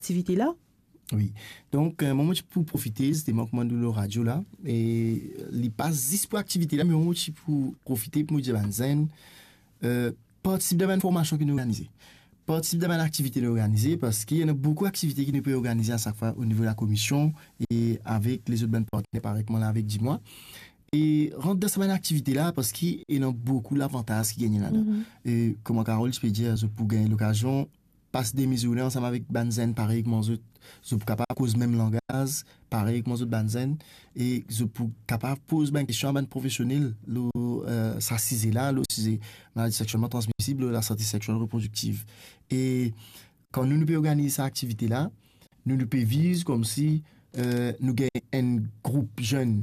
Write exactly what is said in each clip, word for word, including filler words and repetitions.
aktivite la? Wi. Donk, euh, mwa, mo ti pou profite, zisteman, kouma nou lor radio la, e li pa zis pou aktivite la, me mwa, mo ti pou profite pou mo dir bann zenn, euh, partisip dan bann formasion ki nou organize. Partisip dan bann aktivite nou organize, parski ena boukou aktivite ki nou pe organize a sak fwa o nivo lakomision e avek lezot bann partner, parey kouma la avek Dimwa. E rant dan sa bann aktivite la, parski ena boukou lavantaz ki gagne ladan. Mhm. E kouma Carole ti pe dir, zot pou gagn lokazion pas demi zourne ansam avek bann zenn parey kouma zot, zot pou kapav koz mem langaz parey kouma zot bann zenn, e zot pou kapav poz bann kestion a bann profesionel lor, euh, sa size la, lor size maladi sekselman transmisib, lor lasante sekselman reprodiktiv. E kan nou, nou pe organiz sa aktivite la, nou, nou pe viz koumsi, euh, nou gagn enn group zenn,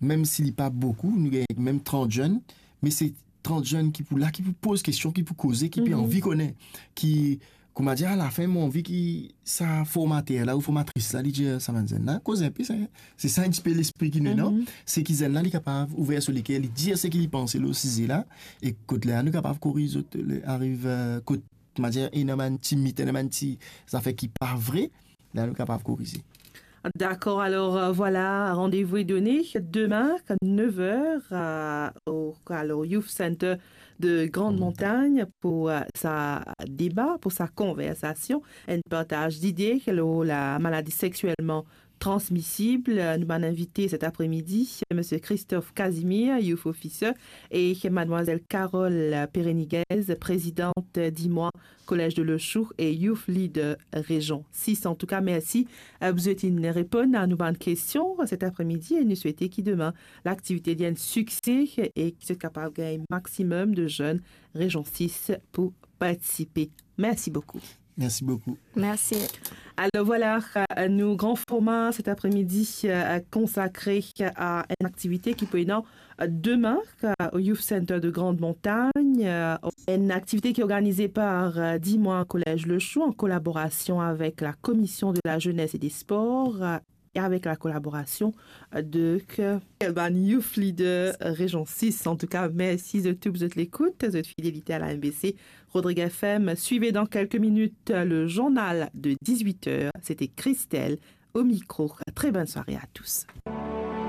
mem si li pa boukou, nou gagn mem trant zenn, me se trant zenn ki pou la, ki pou poz kestion, ki pou koze, ki pe Mhm. anvi kone, ki, kouma dir, alafin, mo anvi ki sa formater la ou formatris la, li dir sa bann zenn la, koz inpe, se, se sa enn tipe lespri ki nou, non? Mhm. Se ki zenn la, li kapav ouver so leker, li dir seki li panse lor size la, e kot la, nou kapav koriz zot, le, ariv, euh, kot, kouma dir, ena bann ti mit, ena bann ti zafer ki pa vre, la nou kapav korize. Dakor, alor, euh, vwala, randevou est donné demain à neuf heures, euh, au, alor, Youth Center de Grande Montagne pou, euh, sa deba, pou sa konversasion, enn partaz lide lor la maladi sekselman transmisib. Nou bann invite set apremidi, Misie Christophe Casimir, Youth Officer, e Mademoiselle Carole Pereniguez, prezidant Dimwa Collège de Lochoue e Youth Leader Région six. Antouka, mersi, euh, pou zot inn reponn a nou bann kestion set apremidi e nou swete ki demin laktivite li enn sikse e ki zot kapav gagn maximum de zenn Région six pou partisipe. Mersi boukou. Mersi boukou. Mersi. Alor vwala, euh, nou gran forma set apremidi, euh, konsakre a enn aktivite ki pou ena, euh, demin, euh, au Youth Center de Grande Montagne, euh, enn aktivite ki organize par, euh, Dimwa Collège Lochoue an kolaborasion avek la Commission de la Jeunesse et des Sports, euh, e avek la kolaborasion de, euh, bann Youth Leader Région six. Antouka, mersi zot tou pou zot lekout, zot fidelite a la M B C Rodrigues F M. Suivez dans quelques minutes le journal de dix-huit heures. C'était Christelle au micro. Très bonne soirée à tous.